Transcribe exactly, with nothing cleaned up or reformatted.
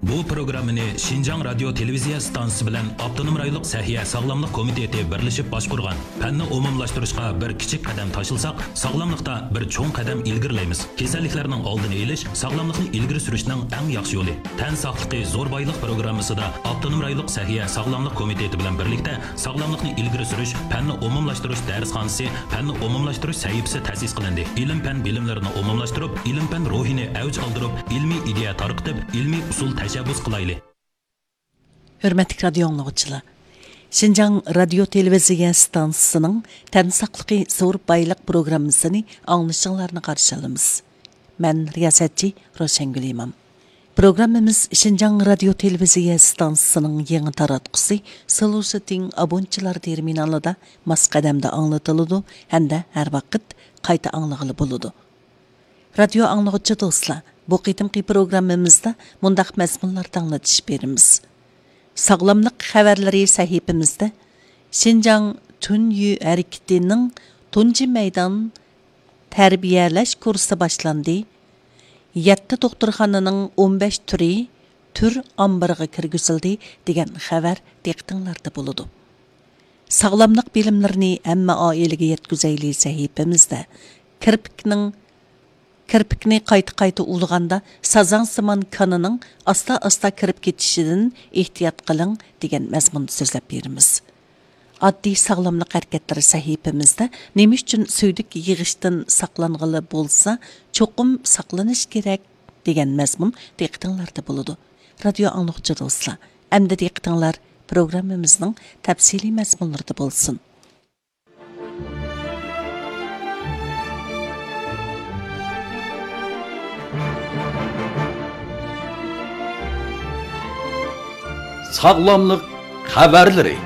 بۇ پروگراممىنى شىنجاڭ رادىيو تېلېۋىزىيە ئىستانسىسى بىلەن ئاپتونوم رايونلۇق سەھىيە ساغلاملىق كومىتېتى بىرلىشىپ باشقۇرغان. پەننى ئومۇملاشتۇرۇشقا بىر كىچىك قەدەم تاشلىساق، ساغلاملىقتا بىر چوڭ قەدەم ئىلگىرىلەيمىز. كېسەللىكلەرنىڭ ئالدىنى ئېلىش، ساغلاملىقنى ئىلگىرى سۈرۈشنىڭ ئەڭ ياخشى يولى. تەن ساقلىقى زور بايلىق پروگراممىسىدا ئاپتونوم رايونلۇق سەھىيە ساغلاملىق كومىتېتى بىلەن بىرلىكتە ساغلاملىقنى ئىلگىرى سۈرۈش، پەننى ئومۇملاشتۇرۇش دەرسخانىسى، پەننى ئومۇملاشتۇرۇش سەھىپىسى تەسىس قىلىندى. ئىلىم-پەن بىلىملىرىنى ئومۇملاشتۇرۇپ، ئىلىم-پەن روھىنى ئەۋج ئالدۇرۇپ، ئىلمىي ئىدىيە تارقىتىپ، ئىلمىي ئۇسۇل تەشەببۇس قىلايلى. ھۆرمەتلىك رادىيو ئاڭلىغۇچىلار! شىنجاڭ رادىيو تېلېۋىزىيە ئىستانسىسىنىڭ تەن ساقلىقى زور بايلىق پروگراممىسىنى ئاڭلىشىڭلارنى قارشى ئالىمىز. مەن رىياسەتچى روشەنگۈل ئىمام. پروگراممىمىز شىنجاڭ رادىيو تېلېۋىزىيە ئىستانسىسىنىڭ يېڭى تاراتقۇسى سلۇشىتىڭ ئابونچىلار تېرمىنالىدا ماس قەدەمدە ئاڭلىتىلىدۇ ھەمدە ھەر ۋاقىت قايتا ئاڭلىغىلى بولىدۇ. رادىيو ئاڭلىغۇچى دوستلار، بۇ قېتىمقى پروگراممىمىزدا مۇنداق مەزمۇنلاردا ئاڭلىتىش بېرىمىز. ساغلاملىق خەۋەرلىرى سەھىپىمىزدە شىنجاڭ تۈنيۈ ھەرىكىتىنىڭ تۇنجى مەيدان تەربىيەلەش كۇرسى باشلاندى، يەتتە دوختۇرخانىنىڭ ئون بەش تۈرى تۈر ئامبىرىغا كىرگۈزۈلدى دېگەن خەۋەر دىققىتىڭلاردا بولىدۇ. ساغلاملىق بىلىملىرىنى ھەممە ئائىلىگە يەتكۈزەيلى سەھىپىمىزدە كىرپىكنىڭ، كىرپىكنى قايتا-قايتا ئۇۋىغاندا سازاڭسىمان كانىنىڭ ئاستا-ئاستا كىرىپ كېتىشىدىن ئېھتىيات قىلىڭ دېگەن مەزمۇندا سۆزلەپ بېرىمىز. ئاددىي ساغلاملىق ھەرىكەتلىرى سەھىپىمىزدە نېمە ئۈچۈن سۈيدۈك يىغىشتىن ساقلانغىلى بولسا، چوقۇم ساقلىنىش كېرەك دېگەن مەزمۇن دىققىتىڭلاردا بولىدۇ. رادىيو ئاڭلىغۇچى دوستلار، ئەمدى دىققىتىڭلار پروگراممىمىزنىڭ تەپسىلىي مەزمۇنلىرىدا بولسۇن. ساغلاملىق خەۋەرلىرى.